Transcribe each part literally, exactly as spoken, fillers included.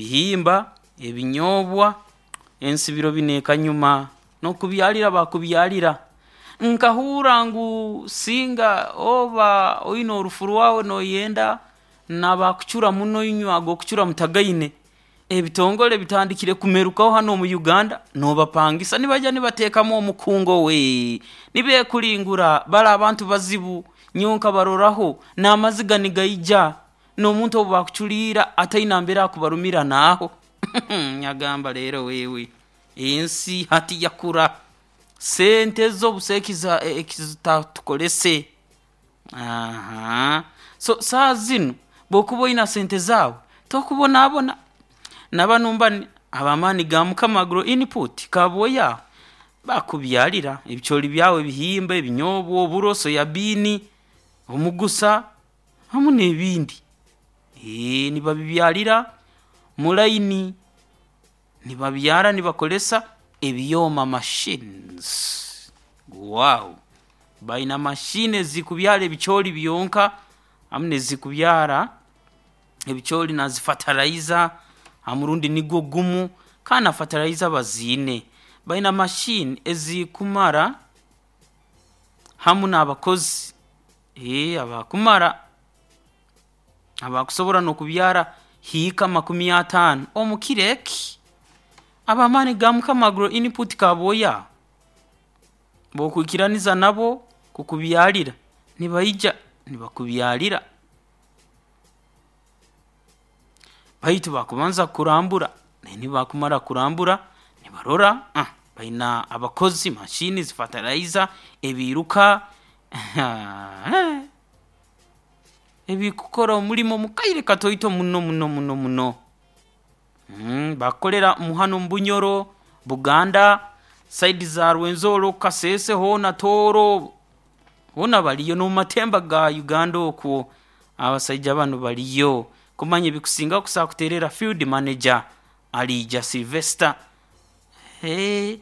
Ebihimba, ebinyobwa, ensi biro binu ekanyuma, n'okubyalira bakubyalira. Nkahurra ngu singa oba oine orufu rwawe noyenda n'abakucura muno inywe ag'okucura mutagaine, ebitongole bitandikire kumerukaho hanu omu Uganda noobapangisa nibaija nibateekamu omukungo we, nibeekulingura bali abantu bazibu, nyowe nkabaroraho n'amaziga nigaija, n'omuntu obu baakuculiira ataine nambere akubarumira naaho nyagamba leero wewe ensi hati yakura, sente zo busaho eki eki zitaatukolese, ahaa so saaha zinu obu okuba oina sente zaawe tokubonaabona. Na banu mbani ab'Amaani ga Mukama Agro Input Kaboya aho, bakubyalira ebicooli byawe ebihimba, ebinyobwa, oburo, soya bean, omugusa hamu n'ebindi, eeh nibabibyalira mu line, nibabyara nibakozesa ebyoma machines, wow! Baina machine ezikubyara ebicooli byonka hamu n'ezikubyara ebicooli nazi fertilizer ha murundi nugwo gumu kandi na fertilizer baziine, baina machine ezikumara hamu n'abakozi eeh abakumara abakusobora n'okubyara hiika makumi ataano omu kiro eki. Ab'Amaani ga Mukama Agro Input Kaboya aho, obu okwikiraniza nabo kukubyalira nibaija nibakubyalira baitu bakubanza kukurambura, then obu bakumara kukurambura nibarora aah baina abakozi, machines, fertilizer, ebiiruka haaaa ebikukora omulimo mu kaire kataito muno muno muno muno, bakukolera hanu omu Bunyoro, Buganda, side za Rwenzori oku Kasese hoona Tooro hoona baliyo n'omu matemba ga Uganda okwo abasaija banu baliyo. Kumanya ebikusingaho okusobola kuteererra field manager Aliija Sylvester, eeh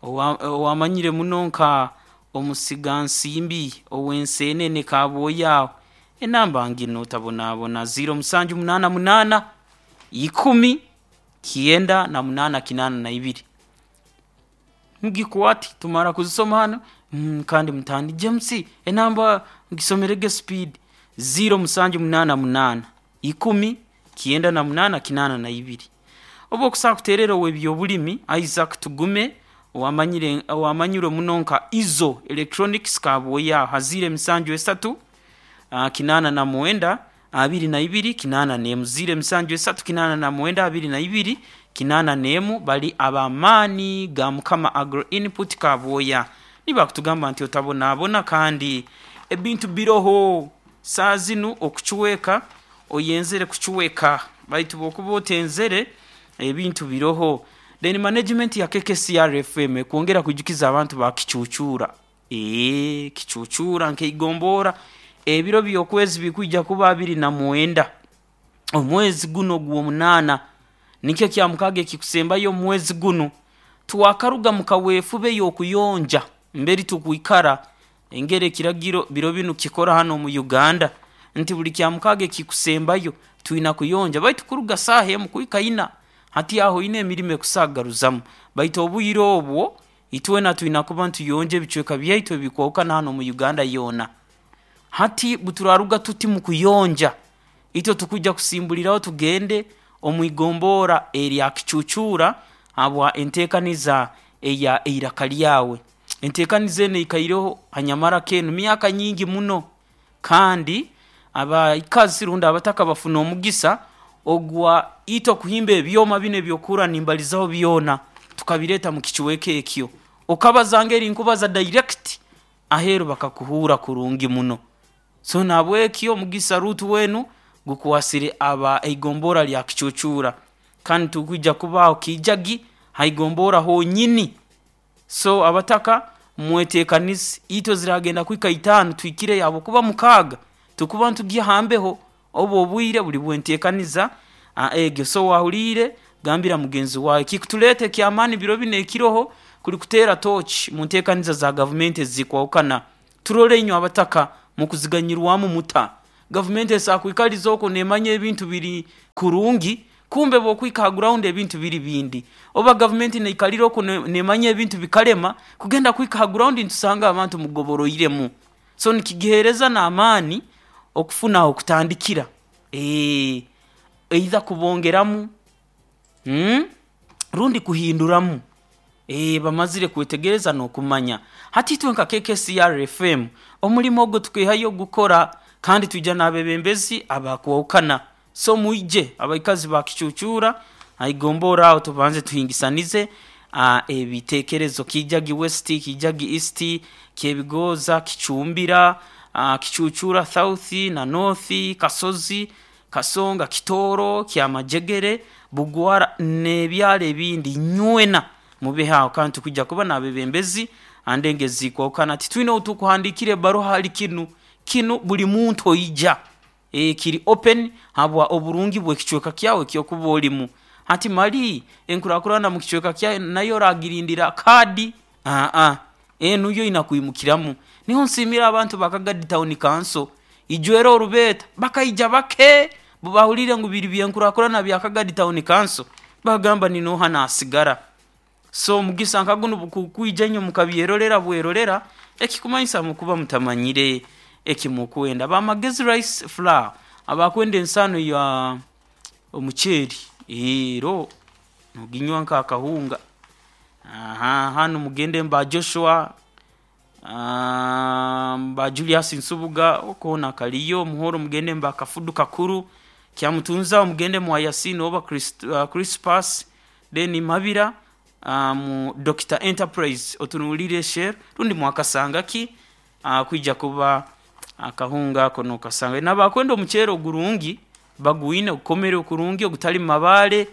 owa ou amanyire muno nka omusigansimbi ow'enseenene Kaboya aho, enamba nginu otabonaabona zeero musanju munaana munaana, ikumi, kyenda na munaana kinaana na ibiri, mugikwate tumara kuzisoma hanu kandi mutandike James enamba gisomerege speed, zeero musanju munaana munaana, ikumi, kyenda na munaana kinaana na ibiri. Obu okusobola kuteererra ow'ebyobulimi Isaac Tugume owamanyire owamanyirwe muno nka Izzo Electronics Kaboya aho ha zeero emisanju esatu, kinaana na mwenda, abiri na ibiri, kinaana n'emu, zeero emisanju esatu, kinaana na mwenda, abiri na ibiri, kinaana n'emu, bali ab'Amaani ga Mukama Agro Input Kaboya nibakutugamba nti otabonaabona kandi ebintu biroho, saaha zinu okucweka oyenzere kucweka baitu obu okuba otenzere ebintu biroho. Then management ya K K C R F M ekwongera kwijukiza abantu ba Kicuucuura, eeh Kicuucuura nk'eigombora ebiro by'okwezi bikwija kuba abiri na mwenda omwezi gunu ogw'omunaana, nikyo kyamukaaga ekikusembayo omu mwezi gunu. Twakaruga mu kaweefube y'okuyonja mbere tukwikara engeri ekiragiro biro binu kikora hanu omu Uganda nti buli kyamukaaga ekikusembayo twina kuyonja baitu kuruga saaha emu kuhika ina, hati aho oine emirimo ekusobola kugaruzamu baitu obwire obwo itwena twina kuba ntuyonja ebicweka byaitu ebikwahukana hanu omu Uganda yoona. Hati obu turaaruga tuti mu kuyonja, itwe tukwija kusimbuliraho tugende omu igombora erya Kicuucuura habwa enteekaniza eya Eiraka Lyawe. Enteekaniza enu eikaireho hanyamarako enu myaka nyingi muno kandi abaikazi rundi abataka bafuna omugisa ogwa itwe kuhimba ebyoma binu ebyokuhurra nimbalizaaho byona tukabireeta mu kicweka ekyo, okabaza ngeri nkubaza direct aheeru bakakuhuura kurungi muno. So nahabwekyo omugisa ruutu wenu gukwasire aba eigombora lya Kicuucuura kandi tukwija kubaaho Kiijagi ha igombora honyini, so abataka mweteekanize itwe ziraagenda kuhika itaano tuhikireyo habwokuba mukaaga tukuba nitugya ha mbeho, obu obwire buli bw'enteekaniza egyo, so waahuliire gambira mugenzi waawe. Ekikutuleeta eky'amaani biro binu ekiroho kuli kuteera torch mu nteekaniza za gavumenti ezikwahukana turole inywe abataka mukuziganyirwamu muta? Gavumenti esakwikaliza okwo nemanya ebintu biri kurungi, kumbe bwokwika ha ground ebintu biri bindi. Oba gavumenti neikalira okwo nemanya ebintu bikalema, kugenda kwika ha ground nitusanga abantu mugoboroiremu. So nikigiheereza n'amaani okufuna ah'okutandikira, eeh either kubongeramu mm rundi kuhinduramu, eeh bamazire kwetegereza n'okumanya. Hati itwe nka K K C R F M omulimo ogwo tukeehayo kugukora, kandi twija n'abeebembezi abakwahukana. So mwije abaikazi ba Kicucuura haigomborra aho tubanze tuhingisanize aa ebiteekerezo: Kiijagi West, Kiijagi East, Kyebigooza, Kicumbira, aa Kicucuura South na North, Kasozi, Kasonga, Kitooro, Kyamajegere, Bugwara n'ebyaro ebindi, nywena mube aho, kandi tukwija kuba n'abeebembezi ha ndengo ezikwahukana. Titwina ou tukuhandiikira ebbaruha hali kinu, kinu buli muntu oija, eeh kiri open habwa oburungi bw'ekicweka kyawe eki okuba olimu. Hati mali enkurakurana mu kicweka kyawe nayo oragirindira kaadi? Aah, enu yo ina kwimukiramu. Niho nsiimira abantu ba Kagadi Town Council, ijo era orubeeta bakaija bake, obu baahuliire ngu biri by'enkurakurana bya Kagadi Town Council, baagamba ninooha naasigara. So omugisa nka gunu obu gukwija inywe mukabyerolera bwerolera, ekikumanyisa mukuba mutamanyire eki mukwenda. Ba Magezi Rice Flour abakwenda ensaano ya omuceeri, ero noginywa nk'akahunga, ahaa hanu mugende mba Joshua, mba Julius Nsubuga oko hoona kaliyo, Muhoro mugende mba Kafudu Kakuru, Kyamutunza mugende mwa Yasin oba Christ Crispus, then Mabira mu Doctor Enterprise otunuulire Shell rundi mwakasangaki kwija kuba akahunga ako nookasanga. N'abakwenda omuceeri ogurungi bagwine, ogukomere kurungi ogutalimu mabaale,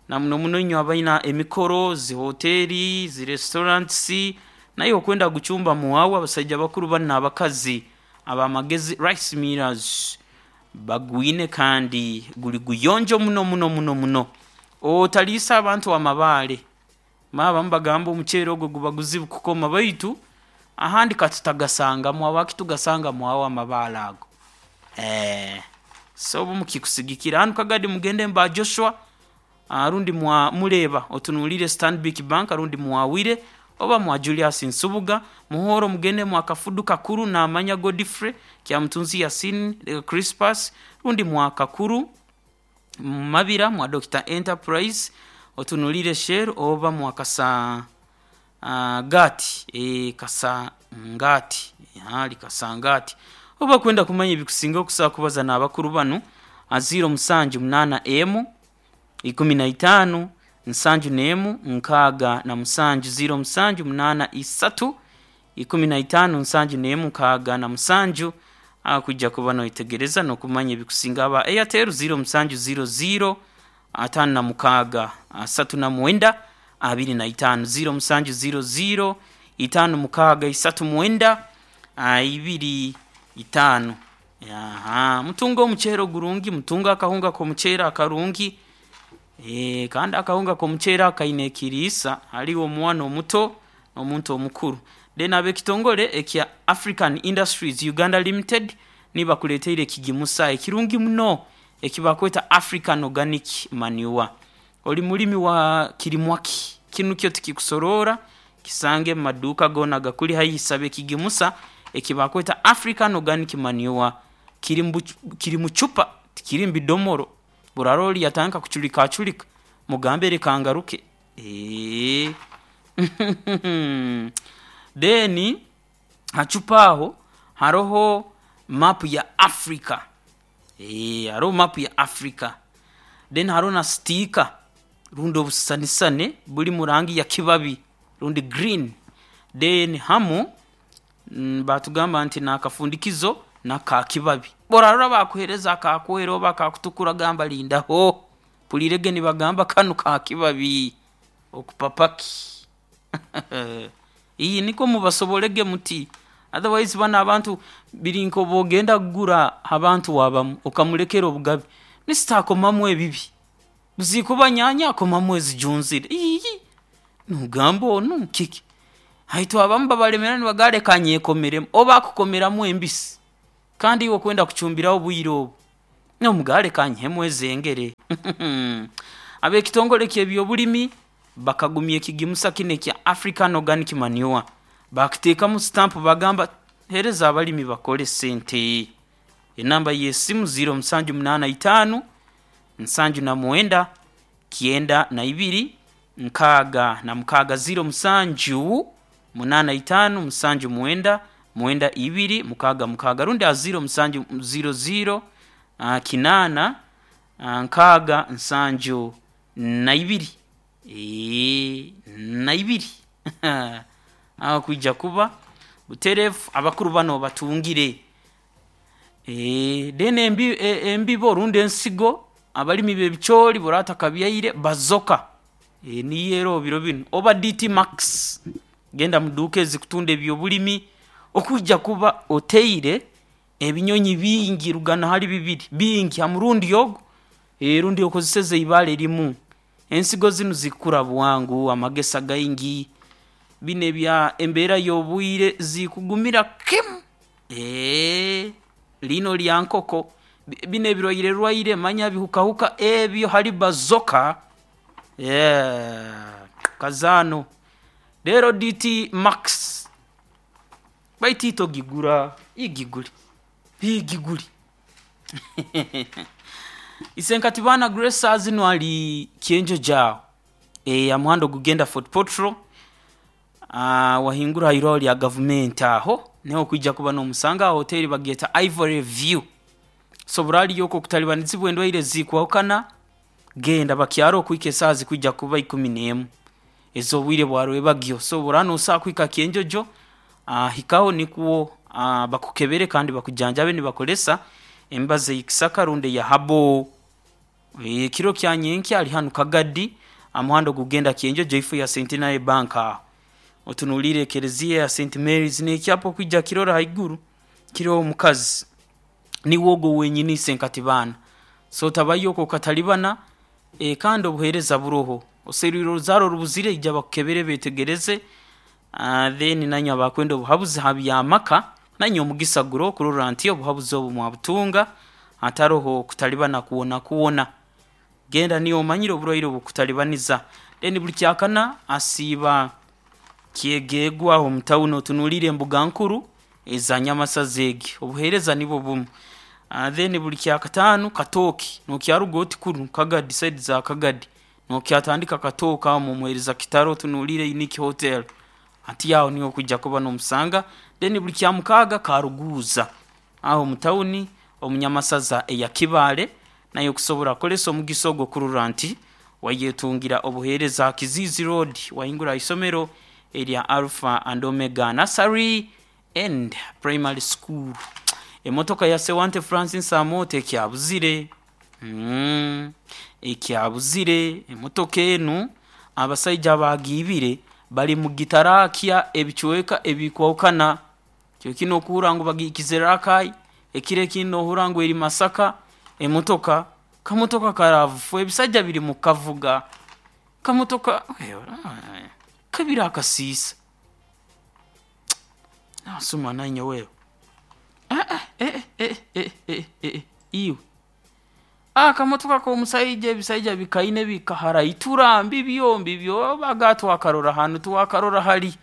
na muno muno inywe abaina emikoro, zi hoteeri, zi restaurants, naiwe okwenda kugucumba waawe, abasaija bakuru banu n'abakazi aba Magezi Rice Millers bagwine kandi guli guyonjo muno muno muno muno. Otaliisa abantu amabaale, abamu bagamba omuceeri ogu guba guzibu kukoma, baitu ahandi katutagasangamu, habwaki tugasanga mwawe amabaale ago? Eeh so obu mukikusigikira. Hanu Kagadi mugende mba Joshua rundi mwa Muleeba otunuulire Stanbic Bank rundi mwa Wire oba mwa Julius Nsubuga, Muhoro mugende mwa Kafudu Kakuru naamanya Godfrey, Kyamutunzi Yasin, Crispus rundi mwa Kakuru, Mabira mwa Doctor Enterprise otunuulire Shell oba mwa Kasa Gaati, eeh Kasangati, ali Kasangati. Obu bakwenda kumanya ebikusingaho okusobola kubaza n'abakuru banu ha ziro musanju munaana emu, ikumi na itaano, nsanju n'emu, nkaaga na musanju, ziro musanju munaana isatu, ikumi na itaano, nsanju n'emu, nkaaga na musanju, aho kwija kuba noyetegereza n'okumanya ebikusinga. Aba Airtel ziro musanju ziro ziro, ataano na mukaaga, asatu na mwenda, abiri na itaano, ziro musanju ziro ziro, itaano mukaaga, isatu mwenda, ibiri itaano. Ahaa mutunge omuceeri ogurungi, mutunge akahunga k'omuceeri akarungi, eeh kandi akahunga k'omuceeri ako kaine ekiriisa hali omwana omuto n'omuntu omukuru. Then ab'ekitongole ekya African Industries Uganda Limited nibo bakuleetiire ekigimusa ekirungi muno eki bakweta African Organic Manure. Oli mulimi wa kirimwa ki? Kinu kyo tikikusoroora, kisange mu maduuka goona agakuli haihi, saba ekigimusa eki bakweta African Organic Manure. Kiri mu kiri mu cupa tikiri mu bidomoro, obu oraarora oli yatandika kuculikaaculika, mugambe leka ngaruke, eeh. Then ha cupa aho haroho mapu ya Africa, eeh haroho mapu ya Africa, then haroho na sticker rundi obusisanisane buli mu rangi ya kibabi rundi green, then hamu baatugamba nti n'akafundikizo nako ka kibabi. Obu oraarora baakuheereza aka kwera oba akakutukura gamba lindaho, mpuliirege nibagamba kanu ka kibabi, okupapaki? Ii nikwo mubasoborrege muti, otherwise banu abantu biri nk'obu ogenda kugura abantu abamu okamulekera obugabe, mister akomamu ebibi, zikuba nyaanya akomamu ezijunzire, iii noogamba onu kiki? Itwe abamu babalemeraho nibagamba leka nyekomeremu, obu akukomeramu embisi. Kandi iwe okwenda kucumbiraho obwire obu nomugale kanyihemu ezengere. Ab'ekitongole ky'ebyobulimi bakagumya ekigimusa kinu ekya African Organic Manure, bakiteekamu stamp, bagamba hereza abalimi bakole sente. Enamba y'esimu ziro musanju munaana itaano nsanju na mwenda kyenda na ibiri nkaaga na mukaaga, ziro musanju munaana itaano musanju mwenda mwenda ibiri mukaaga mukaaga, rundi aha ziro musanju ziro ziro uh, kinaana uh, nkaaga nsanju na ibiri Eee, na ibiri. Aho kwija kuba butereevu abakuru bano batungire. Eee, then embi, e- embibo rundi ensigo abalimi b'ebicooli baratakabyaire bazoka e, niyo eroho biro binu oba D T Max, genda mu duuka ezikutunda ebyobulimi okwija kuba oteire ebinyonyi bingi rugana hali bibiri bingi ha murundi ogu, e, rundi okozeseze ibaale limu. Ensigo zinu zikukura bwangu, amagesa gaingi, binu ebya embeera y'obwire zikugumira kimu. Eee, lino lya nkoko, binu ebirwaire rwaire manya bihukahuka ebyo hali bazoka, yeah, kazaano. Rero D T Max baitu togigura, igigule igigule. Isenkati baana Grace azino ali Kyenjojo aho, e, amuhanda ogugenda Fort Portal, uh, wahingura hairwaho lya gavumenti aho niho okwija kuba n'omusanga aho hoteri bagyeta Ivory View. So buraliyo okwo okutalibanizibwa endwaire zikwahukana, genda bakyaro okuhika esaaha zikwija kuba ikumi n'emu ez'obwire bwa rwebagyo. So buraba nosobola kuhika Kyenjojo, uh, hikaho nikwo uh, bakukebere kandi bakujanjabe nibakozesa emibazi ey'ekisaka rundi eya habo. Ekiro kya nyenkya ali hanu Kagadi amuhanda ogugenda Kyenjojo ifo ya Centenary Bank aho otunuliire ekereziya ya Saint Mary's n'ekyapa okwija kirora haiguru kiroho omukazi niwe ogwo wenyini isenkati baana. So tabayo okwo okatalibana, e, kandi obuheereza buroho oserwire oruzaaro orubuzire ija bakukebere beetegereze, uh, then nanywe abakwenda obuhabuzi ha by'amaka nanywe omugisa guroho kurora nti obuhabuzi obu mwabutunga hataroho kutalibana kwona kwona. Genda niyo omanyire oburwaire obukutalibaniza. Then buli kyakana asiiba Kyegegwa aho omu tawuni otunuliire embuga nkuru eza Nyamasaza egi, obuheereza nibwo bumu. Uh, then buli kyakataano Katooke nokyaruga oti kunu Kagadi, side za Kagadi nokyatandika Katooke aho mumuheereza Kitaro otunuliire Unique Hotel, hati aho niho okwija kuba n'omusanga. Then buli kyamukaaga Karuguuza aho omu tawuni omu Nyamasaza eya Kibaale nayo okusobora kukozesa omugisa ogwo kurora nti wayetungira obuheereza Kiziizi Road wahingura ha isomero erya Alpha and Omega Nursery and Primary School. Emotoka ya Sewante Francis Amooti ekyabuzire, mm, ekyabuzire emotoka enu abasaija abagiibire bali mugitarakya ebicweka ebikwahukana. Kiro kinu okuhurra ngu bagihikize Rakai, ekiro ekindi nohurra ngu eri Masaka. Emotoka kamotoka ka RAV four ebisaija biri mu kukavuga kamotoka kabire akasiisa nasuma nanye wewe, eh, eh, eh, eh, eh, eh, iwe akamotoka k'omusaija ebisaija bikaine bikaharaitura mbibyo mbibyo baga twakarora hanu twakarora hali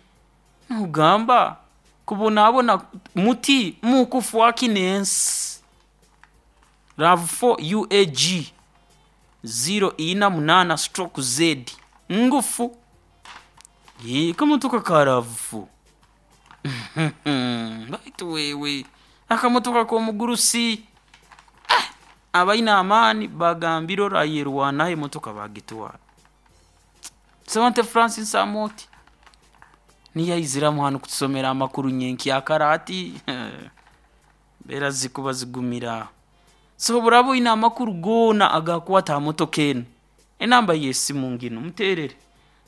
nogamba kubonabona muti mukufwaki n'ensi. RAV four U A G ziro ina munaana stroke Z ngufu, kamotoka ka RAV four baitu wewe akamotoka k'omugurusi, eh, abaine amaani bagambire orayerwanaho emotoka bagitwara. Sewante Francis Amooti niyo aiziramu hanu kutusomera amakuru nyenkyakara ati embeera zikuba zigumire aho. So buraba oine amakuru goona agakukwata ha motoka enu, enamba y'esimu nginu muteerere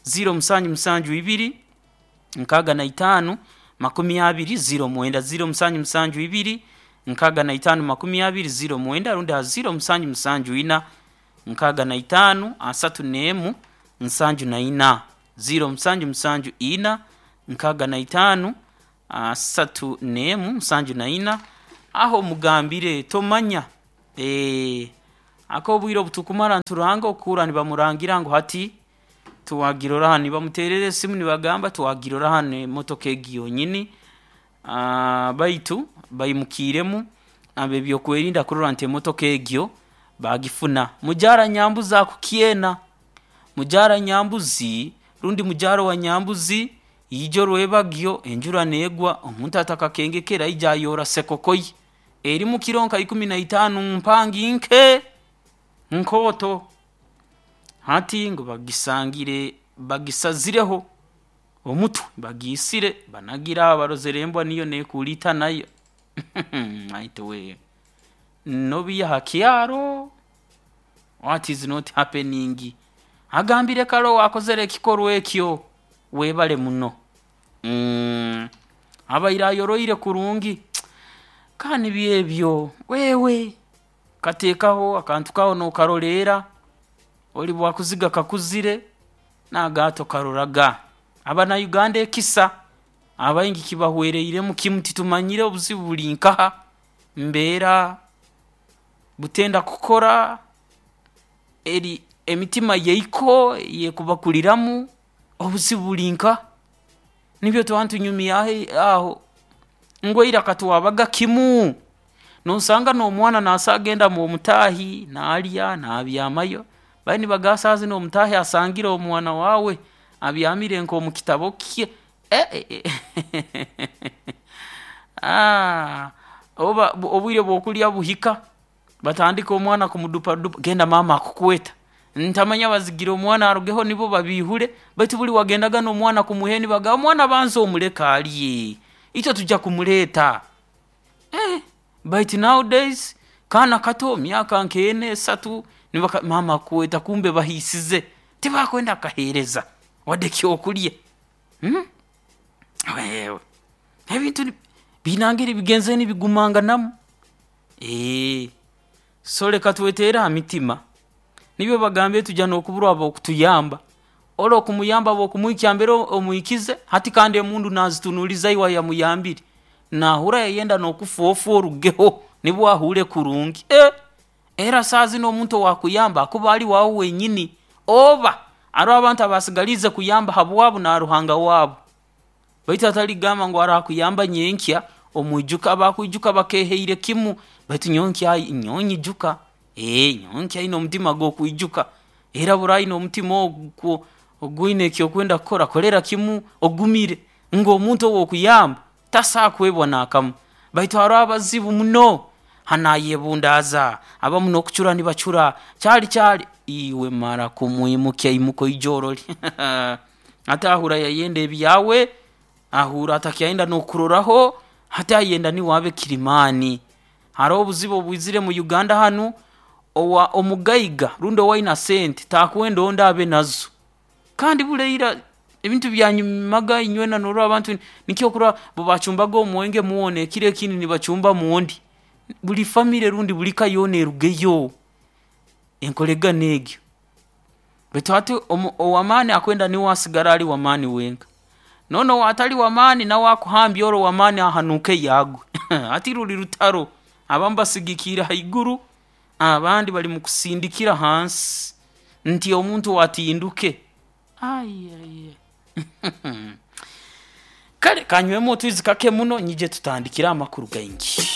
ziro musanju musanju ibiri nkaaga na itaano makumi abiri ziro mwenda, ziro musanju musanju ibiri nkaaga na itaano makumi abiri ziro mwenda, rundi ha ziro musanju musanju ina nkaaga na itaano asatu n'emu nsanju na ina, ziro musanju musanju ina nkaaga na itaano asatu n'emu nsanju na ina. Aho mugambire tomanya eh akobwire obutukumara nturanga okura nibamurangira ngu hati tuwagirora hano, nibamuterera esimu nibagamba tuwagirora hano emotoka egi yonyini. Ah, baitu baimukiremu ab'ebyokwerinda kurora nti emotoka egyo bagifuna. Mujara Nyambuzi akukyena, mujara Nyambuzi rundi mujara wa Nyambuzi, ijo rwebagyo enjura neegwa, omuntu atakakengekere aija ayora sekoko ye erimu kiro nka ikumi na itaano, mpangi nke nkooto. Hati ngu bagisangire bagisazireho omutwe, bagiisire banagire aho, barozere embwa niyo neekuliita nayo. Baitu we, nobiiha ha kyaro, what is not happening? Agambire kare owaakozere ekikorwa ekyo, weebale muno mm, abaire ayoroire kurungi ka nibyo ebyo wewe kateekaho akantu kawe nookaroleera, oli bwakuziga kakuzire n'aga tokaroraga. Abannayuganda ekisa abaingi kibahwereiremu kimu, titumanyire obuzibu buli nkaha, mbeera, butenda kukora, eri emitima yaiko eyekubakuliramu, obuzibu buli nkaha? Nibyo twaba ntunyumyaho aho ngu ira katwabaga kimu, noosanga n'omwana naaso agenda mw'omutaahi naalya naabyamayo, bali nibagamba saaha zinu omutaahi asangire omwana waawe abyamire nk'omu kitabu kye, eh eh aah, oba obwire bw'okulya buhika, batandika omwana kumudupadupa, genda maama akukweta, ntamanya bazigire omwana arugeho nibo babiihure, baitu buli wagendaga n'omwana kumuhe nibagamba omwana banza omuleke alye, itwe tujja kumuleeta. Eeh baitu nowadays kaana kato myaka nk'ena, esatu, nibaka maama akukweta, kumbe bahiisize, tibakwenda kukaheereza wadde ekyokulya, hmm wewe ebintu biina ngeri bigenzere nibigumanganamu, eeh, so leka tweteere ha mitima, nibyo bagambire tujja n'okuburwa ab'okutuyamba, ori okumuyamba bwokumuhikya mbere omuhikize, hati kandi emundu naazitunuuliza iwe ayamuyambire, naahuura yayenda n'okufa ofe orugeho nibwo ahuure kurungi, eeh era saaha zinu omuntu owaakuyamba akuba ali waawe wenyini oba aroho abantu abasigaliize kuyamba habwabu na Ruhanga waabu, baitu hatali kugamba ngu araakuyamba nyenkya omwijuka, abakwijuka bakeehaire kimu, baitu nyowe nkya nyowe nyijuka, eeh nyowe nkyaine omutima gw'okwijuka, era obu oraaba oine omutima ogwo ogwine eki okwenda kukora, kolera kimu ogumire ngu omuntu ou okuyamba taso kwebwa naakamu, baitu haroho abazibu muno, hanu ayebundaaza, abamu n'okucura nibacura, caali caali, iwe mara kumwimukya imuka oije orole hati ahuura yayenda ebyawe, ahuura atakyayenda n'okukuroraho, hati ayenda niwe abe kirimaani. Haroho obuzibu obwizire mu Uganda hanu, owa omugaiga rundi owaina sente takwenda ondi abe nazo, kandi buli ira ebintu byanyumaga inywena noorora abantu nikyo okurora obu baacumbaga omwenge mwona ekiro ekindi nibacumbamu ondi, buli family rundi buli ka yoona erugeyo, enkoregana egyo, baitu hati omu ow'amaani akwenda niwe asigale ali w'amaani wenka, n'onu owaatali w'amaani nawe akuhambya ori ow'amaani ahanuukeyo agwe, hati ruli rutaro, abamu basigikiire haiguru, abandi bali mukusindikira hansi nti omuntu atinduke, ai ai kale kanywemu otwizi kake muno nyije tutandikire amakuru gaingi.